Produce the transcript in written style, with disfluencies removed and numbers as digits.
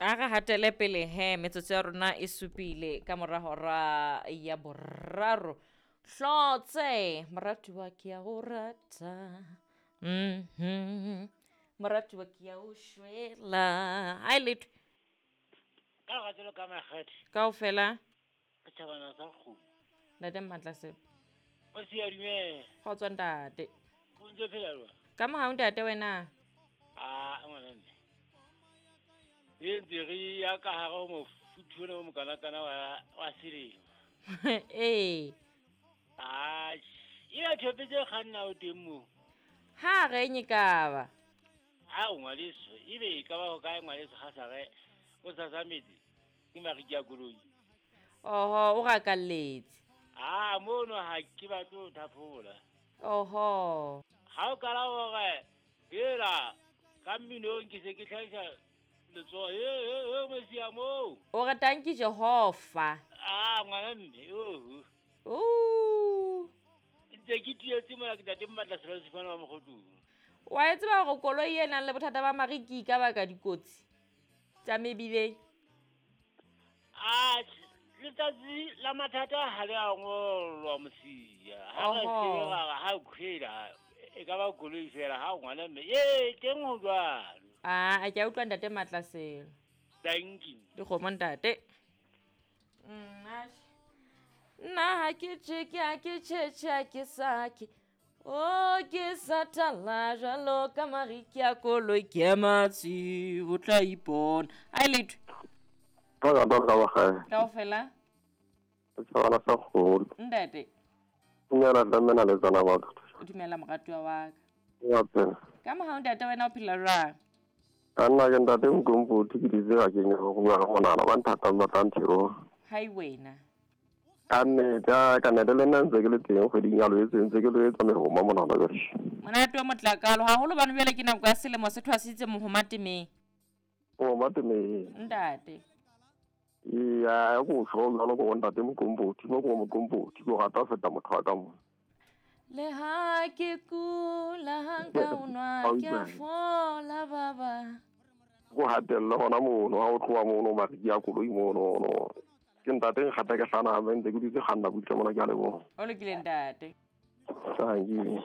A re hatele pele he metsotso ya rona e supile ka mora hora ya boraro. Hlotse moratuwa ke ya go rata. Moratuwa ke ya o shwela. Hai letho. Ka lerato ka makgethe. Kaofela. Setjhabana sa kgomo. Ntate Mmatla. O se ya dumela. Kgotso ntate. O ntse phela jwang? Ka mohau ntate wena. Ah, ngwana mme. E ntse re ya ka hare ho mofuthu ona o mokanakana wa selemo. Ee. Ah, e ya thepe tse kganna o teng moo. Ha re nye ka ba. Ha o ngwaneso, ebe e ka ba ho kae ngwaneso ha sa re o sasametse ke mariki a koloi. Oho, o rakalletse. Ah, mono ha ke batle ho thaphola. Oho. Ha o kala hore hela ka mminong ke se ke hlahisa letsoho he Mesia moo. O re tanki Jehova. Ah, ngwana mme, oho. Ooh. Ntse ke tietse mona ke ntate Mmatla Selo Sefane wa Mokgotlong. Wa e tseba hore koloi e nang le bothata ba mariki e ka baka dikotsi tsa mebileng? Ah, letsatsi la mathata ha le a ngolwa Mosia. Ha re tseba ha khwela e ka ba koloi fela ha ngwana mme. Ee, teng ho jwalo. Ah, ke a utlwa ntate Matla Selo. Thank you. Dikgomo ntate. Nna ha ke tjeke, ha ke tjhetjhe, ha ke sake. O ke satala jwalo ka mariki a koloi ke matsi o tla ipona. Ai letho. Ka ba Kaofela. Setjhabana sa kgolo. Ntate. Nyana tlamena le tsana batho. O dumela moratuwa wa ka. Ya phela. Ka mohau ntate wena o phela jwang? Ka nna ke ntate Nkompothi ke ditse ga ke nyaka go bua ka monana ba nthatang ba tla nthero. Hai wena. Ka nnete ka nnete le nna ntse ke le teng kgweding ya Loetse ntse ke lo etsa mehoma monana jwale. Monate wa motlakalo haholo bano jwale ke nako ya selemo se thwasitse mohoma temeng. Mohoma temeng. Ntate. Iya, ko tjho jwalo ko ntate Mokompothi, mo ko Mokompothi, ko rata ho feta motho wa ka mo. Le ha ke kula ha nka o nwa ke a fola baba. Ko hatella hona mono ha o tloha mono mariki a koloi mono no. Ke ntate nkgata ke hlana ha ntse ke dutse kganna butle mona ke a leboha. O lokile ntate. Thank you.